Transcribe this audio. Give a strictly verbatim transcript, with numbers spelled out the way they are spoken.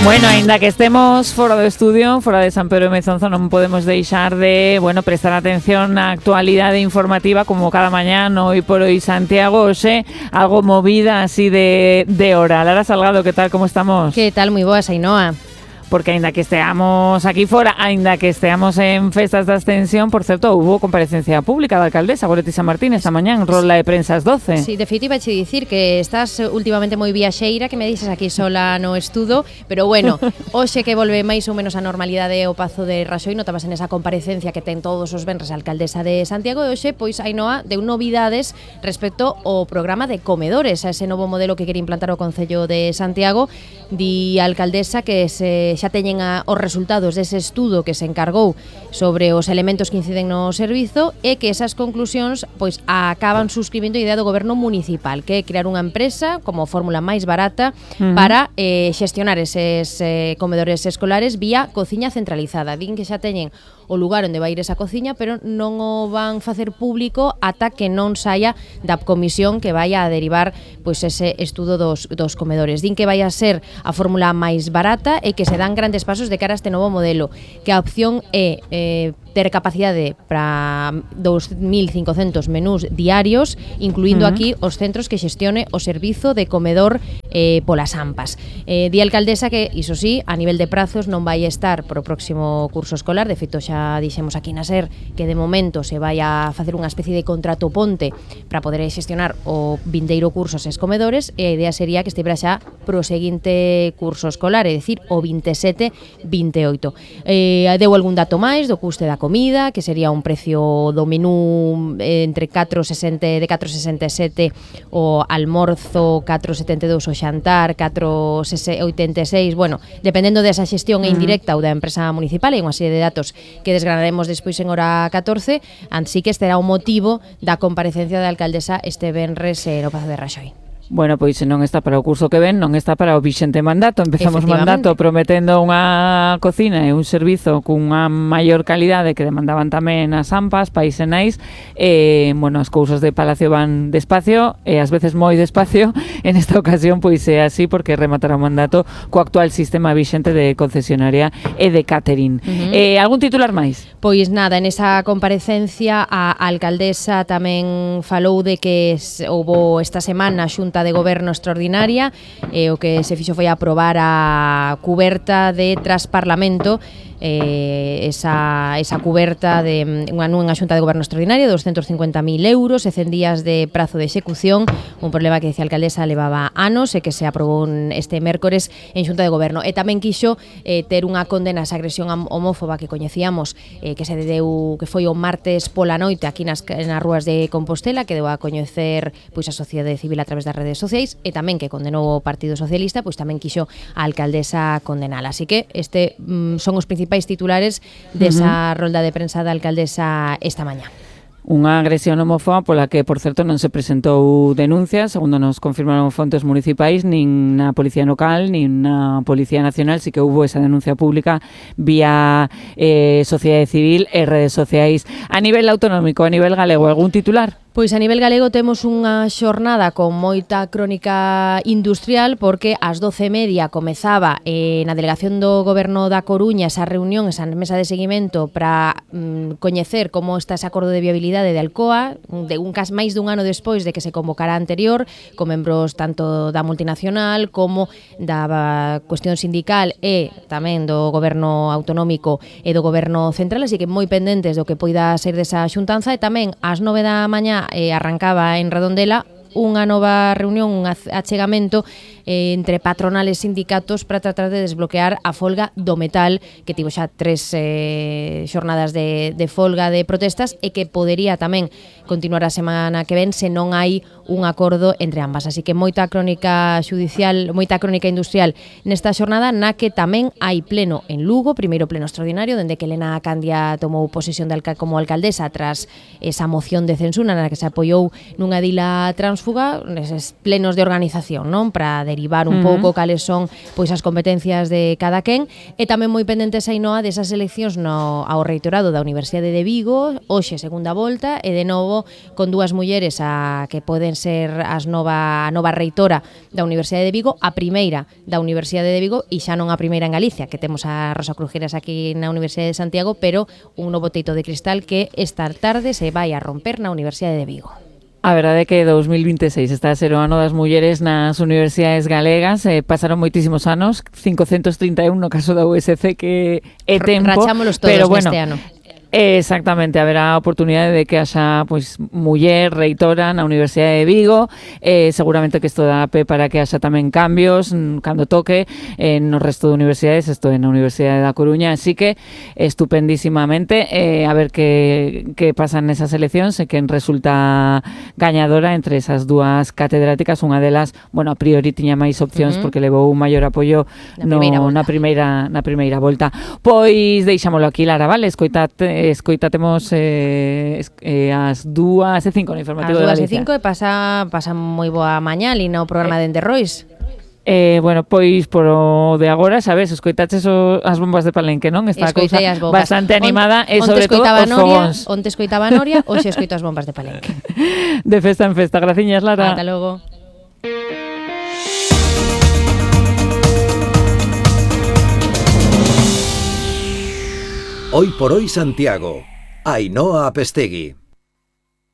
Bueno, aínda que estemos fora do estudio, fora de San Pedro de Mezonzo, non podemos deixar de, bueno, prestar atención na actualidade informativa como cada mañá, hoy por hoy Santiago, hoxe, algo movida así de, de hora. Lara Salgado, que tal, como estamos? Que tal, moi boa, Ainhoa. Porque aínda que esteamos aquí fora, aínda que esteamos en festas da Ascensión, por certo, hubo comparecencia pública da alcaldesa Goretti San Martín esta mañá en rolda de prensa ás doce. Sí, de feito iba a che dicir que estás últimamente moi viaxeira, que me dices aquí sola no estudo, pero bueno, hoxe que volve máis ou menos a normalidade o Pazo de Raxoi, notabas en esa comparecencia que ten todos os venres a alcaldesa de Santiago, e hoxe, pois, Ainhoa, deu novidades respecto ao programa de comedores, a ese novo modelo que quere implantar o Concello de Santiago. Di a alcaldesa que se xa teñen a, os resultados dese estudo que se encargou sobre os elementos que inciden no servizo e que esas conclusións pois acaban suscribindo a idea do goberno municipal, que é crear unha empresa como fórmula máis barata uh-huh. para eh, xestionar eses eh, comedores escolares vía cociña centralizada. Din que xa teñen o lugar onde vai ir esa cociña, pero non o van facer público ata que non saia da comisión que vai a derivar pois ese estudo dos, dos comedores. Din que vai a ser a fórmula máis barata e que se dan grandes pasos de cara a este novo modelo, que a opción é eh, ter capacidade para dous mil cincocentos menús diarios, incluindo uh-huh. aquí os centros que xestione o servizo de comedor eh, polas AMPAs. Eh, di a alcaldesa que, iso sí, a nivel de prazos non vai estar pro próximo curso escolar, de feito xa dixemos aquí na SER que de momento se vai a facer unha especie de contrato ponte para poder xestionar o vindeiro curso ses comedores, e a idea sería que estivera xa pro seguinte curso escolar, é dicir, o vinte e sete vinte e oito. Eh, deu algún dato máis do custe da comida, que sería un precio do menú eh, entre catro sesenta de catro sesenta e sete o almorzo, catro setenta e dous o xantar, catro oitenta e seis, bueno, dependendo desa xestión uh-huh. indirecta ou da empresa municipal, hai unha serie de datos que desgranaremos despois en hora catorce, así que este era o motivo da comparecencia da alcaldesa este venres no Pazo de Raxoi. Bueno, pois se non está para o curso que ven, non está para o vixente mandato. Empezamos mandato prometendo unha cocina e un servizo cunha maior calidade que demandaban tamén as AMPAs, País e Nais. E, bueno, as cousas de Palacio van despacio e ás veces moi despacio. En esta ocasión, pois é así porque rematará o mandato co actual sistema vixente de concesionaria e de catering. Uh-huh. Eh, algún titular máis? Pois nada, en esa comparecencia a alcaldesa tamén falou de que houbo esta semana xunta de goberno extraordinaria, e o que se fixo foi aprobar a cuberta de Trasparlamento, eh, esa, esa cuberta de unha nunha xunta de goberno extraordinaria de doscientos cincuenta mil euros e cen días de prazo de execución, un problema que decía a alcaldesa levaba anos e que se aprobou este mércores en xunta de goberno. E tamén quixo eh, ter unha condena a esa agresión homófoba que coñecíamos, eh, que se deu, que foi o martes pola noite aquí nas, nas rúas de Compostela, que deu a coñecer pois a sociedade civil a través das redes sociais, e tamén que condenou o Partido Socialista, pois tamén quixo a alcaldesa condenala. Así que este mm, son os principais titulares desa uh-huh. rolda de prensa da alcaldesa esta mañá. Unha agresión homófoba pola que, por certo, non se presentou denuncia, segundo nos confirmaron fontes municipais, nin na Policía Local, nin na Policía Nacional. Sí que hubo esa denuncia pública vía eh, sociedade civil e redes sociais. A nivel autonómico, a nivel galego, algún titular? Pois a nivel galego temos unha xornada con moita crónica industrial, porque ás doce e media comezaba eh, na delegación do Goberno da Coruña esa reunión, esa mesa de seguimento para mm, coñecer como está ese acordo de viabilidade de Alcoa, de un cas máis dun ano despois de que se convocara anterior, con membros tanto da multinacional como da cuestión sindical e tamén do Goberno autonómico e do Goberno central, así que moi pendentes do que poida ser desa xuntanza. E tamén ás nove da mañá Eh, arrancaba en Redondela unha nova reunión, un achegamento eh, entre patronales e sindicatos para tratar de desbloquear a folga do metal, que tivo xa tres eh, xornadas de, de folga de protestas e que podería tamén continuar a semana que ven se non hai un acordo entre ambas. Así que moita crónica xudicial, moita crónica industrial nesta xornada, na que tamén hai pleno en Lugo, primeiro pleno extraordinario, dende que Elena Candia tomou posesión de alca- como alcaldesa tras esa moción de censura na que se apoiou nunha dila transfuga, neses plenos de organización, non, para derivar un uh -huh. pouco cales son pois as competencias de cada quen, e tamén moi pendentes Ainhoa desas eleccións no, ao reitorado da Universidade de Vigo, hoxe segunda volta, e de novo con dúas mulleres a que poden ser as nova, a nova reitora da Universidade de Vigo, a primeira da Universidade de Vigo e xa non a primeira en Galicia, que temos a Rosa Crujeras aquí na Universidade de Santiago, pero un novo teito de cristal que esta tarde se vai a romper na Universidade de Vigo. A verdade é que dous mil vinte e seis está a ser o ano das mulleres nas universidades galegas, eh, pasaron moitísimos anos, cincocentos trinta e un no caso da U S C, que é tempo, rachámolos todos pero bueno, neste ano. Exactamente, haberá a oportunidade de que haxa pois muller reitora na Universidade de Vigo, eh, seguramente que isto dá pé para que haxa tamén cambios cando toque eh, no resto de universidades, isto é na Universidade da Coruña, así que estupendísimamente, eh, a ver que, que pasan nesas eleccións e quen resulta gañadora entre esas dúas catedráticas, unha delas, bueno, a priori tiña máis opcións uh -huh. porque levou un maior apoio na, no, primeira na primeira na primeira volta. Pois deixámolo aquí, Lara, vale? Escoitate escoitatemos eh, eh, as dúas e cinco no informativo de Galicia. As dúas e cinco e pasa, pasa moi boa mañá ali no programa eh, de Enderrois. Eh, bueno, pois por o de agora, sabes, escoitaches o, as bombas de Palenque, non? Está a cousa bastante animada on, e sobre todo os fogóns. Onte escoitaba Noria, hoxe escoito as bombas de Palenque. De festa en festa. Graciñas, Lara. Ata logo. Hoy por hoy Santiago, Ainhoa Apestegui.